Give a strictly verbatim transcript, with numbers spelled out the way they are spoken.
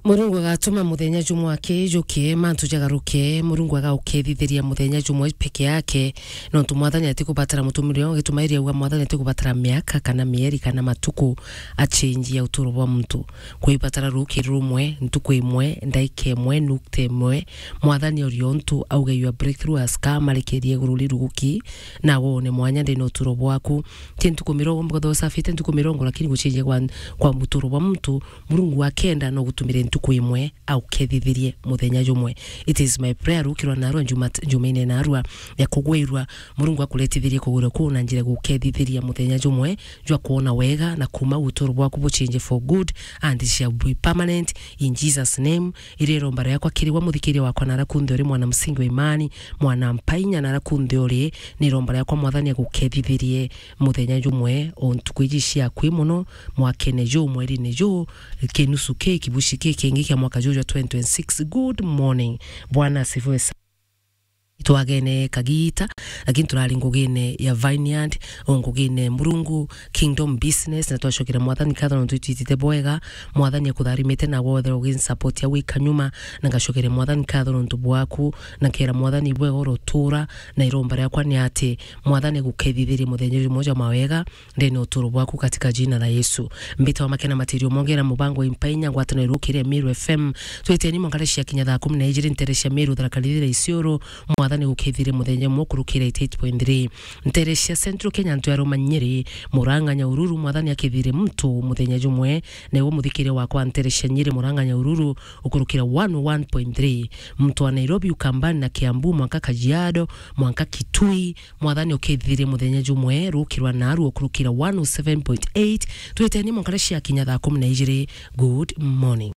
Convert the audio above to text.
Murungu agatuma muthenya jumwe akijukie, mantu jagaruke. Murungu agaukethithiria muthenya jumwe peke yake, nontu Mwathani atikubatara mutumire, ugitumairi auga Mwathani atikubatara miaka kana mieri kana matuku achenjia uturo bwa muntu. Kwibatara ruki rumwe, ntuku imwe, ndaika imwe, nukta imwe, Mwathani ori untu auge your breakthrough has come, arekerie iguru riruguki, na wone mwanya ndene uturo bwaku. Ti ntuku mirongo, mbwatho usafite ntuku mirongo, lakini guchenjia kwa, kwa muturo bwa muntu, Murungu akenda no gutumire ntuku imwe, aukethithirie muthenya jumwe. It is my prayer, rukirwa narua njuma, njumaine narua ya kugwirwa, Murungu akuretithirie kugwirwa kuu na njira gukethithiria muthenya jumwe, jwa kuona wega na kuma uturo bwaku buchenje for good and it shall be permanent in Jesus name. Iri iromba riakwa kiri we muthikiria wakwa nara kunthe uri mwana msingi wa imani, mwana mpainya nara kunthe uri, ni iromba riakwa Mwathani agukethithirie muthenya jumwe o ntuku iji ciaku mono, mwakene juu, mwerine juu, kinusu ki, kibuci ki kingi kia mwaka juu jwa twenty twenty-six. Good morning. Bwana asifiwe sana. Itwagene kagita, lakini turari ngugine ya Vineyard, o ngugine Murungu, Kingdom Business, na twacokera Mwathani nkatho nontu itwitite bwega. Mwathani akutharimite na wothe uginsupport ya wika nyuma, na ngacokera Mwathani nkatho nontu bwaku, na kera Mwathani bwega urotura, na iromba riakwa ni ati Mwathani agukethithirie muthenya jumwe jwa mawega, ndene uturo bwaku katika jina la Yesu. Mbita wa makena matirio mongera mubango impainya ngwatano irukire Meru F M. Tweteni mwankare cia kinya thaa kumi na ijiri ntere cia Meru, Tharaka Nithi na Isiolo, Mwathani gukithire muthenya umwe kurukira eighty-eight point three. Ntere cia Central Kenya ntu ya Roma Nyeri, Murang'a Nyahururu, Mwathani akithire muntu muthenya jumwe, na iwe muthikire wakwa ntere cia Nyeri, Murang'a Nyahururu, ukurukira one oh one point three. Muntu wa Nairobi, Ukambani na Kiambu, mwanka Kajiado, mwanka Kitui, Mwathani ukithire muthenya jumwe, rukirwa naru ukurukira one oh seven point eight. Tweteni mwankare cia kinya thaa kumi na ijiri. Good morning.